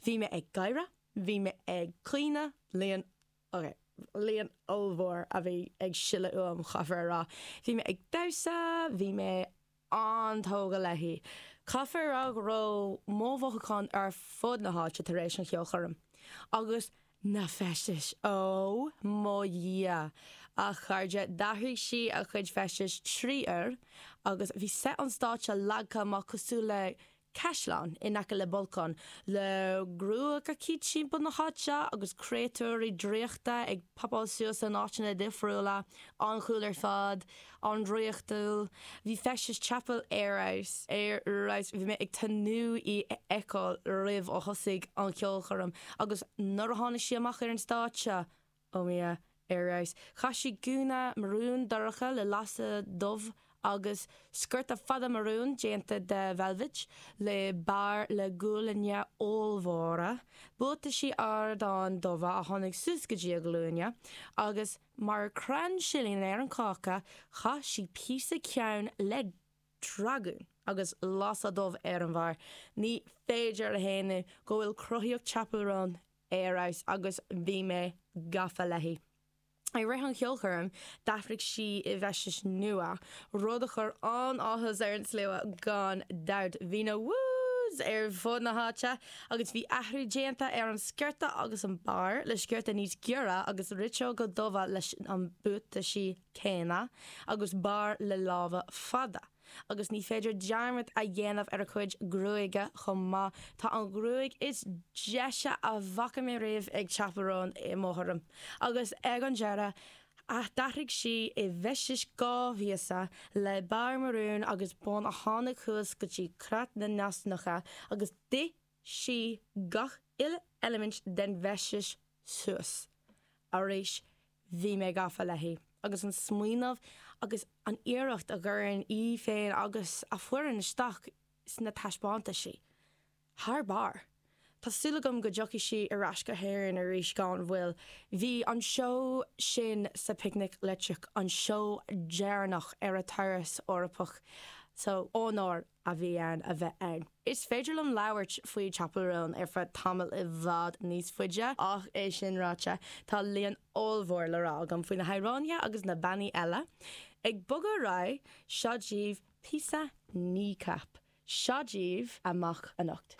Bhí mé ag gáire, bhí mé ag caoineadh, líon, ok, líon ollmhór a bhí ag sileadh uaim, chaithfear a rá. Bhí mé ag damhsa, bhí mé an-tógtha léi. Caithfear a rá go raibh mo mhothúcháin ar fud na háite tar éis an cheolchoirm. Agus na feistis! Ó mo Dhia! A chairde, d'athraigh sí a cuid feistis 3 uair agus bhí seit an stáitse leagtha amach cosúil le caisleán in aice le bolcán, le gruagachaí timpeall na háite agus créatúirí draíochta ag popáil suas in áiteanna difriúla. An-cool ar fad. An-draíochtúil. Bhí feistis Chappell ar fheabhas. Ar fheabhas. Bhí mé ag tnúth í a fheiceáil roimh a thosaigh an cheolchoirm agus nuair a tháinig sí amach ar an stáitse, Oh mo Dhia, ar fheabhas. Chaith sí gúna marún dorcha le lasadh dubh agus sciorta fada marún déanta de veilbhit le barr le gualainne ollmhóra, buataisí ardáin dubha a tháinig suas go dtí a glúine agus, mar chrann silín ar an cáca, chaith sí píosa ceann le dragún agus lasadh dubh ar an bharr. Ní féidir a shéanadh go bhfuil cruthaíocht Chappell Roan ar fheabhas agus bhí mé gafa léi. I rith an cheolchoirm, d'athraigh sí i bhfeistis nua, rud a chuir an-áthas ar an slua gan dabht. Bhí na woos ar fud na háite agus bhí athrú déanta ar an sciorta agus an barr, le sciorta níos giorra agus riteoga dubha leis an buataisí céanna agus barr le lámha fada. Agus ní féidir dearmad a dhéanamh ar a cuid gruaige chomh maith. Tá an ghruaig is deise a bhfaca mé riamh ag Chappell Roan i mo thuairim. Agus ag an deireadh, d'athraigh sí i bhfeisteas 2 phíosa, le barr marún agus bun a tháinig suas go dtí creat na n-easnacha agus d'ith sí gach uile eilimint den bhfeisteas suas. Arís, bhí mé gafa léi agus an smaoineamh agus an iarracht a gcuireann í féin agus a foireann isteach sna taispeántaisí. Thar barr! Tá súil agam go dtiocfaidh sí ar ais go hÉirinn arís gan mhoill. Bhí an seó sin sa Picnic Leictreach an seó deireanach ar a turas Eorpach so onóir a bhí ann a bheith ann. Is féidir liom labhairt faoi Chappell Roan ar feadh tamall i bhfad níos faide, ach é sin ráite, tá líon ollmhór le rá agam faoi na hamhránaithe agus na bannaí eile. Ag bogadh ar aghaidh, seo daoibh píosa Kneecap. Seo daoibh Amach Anocht.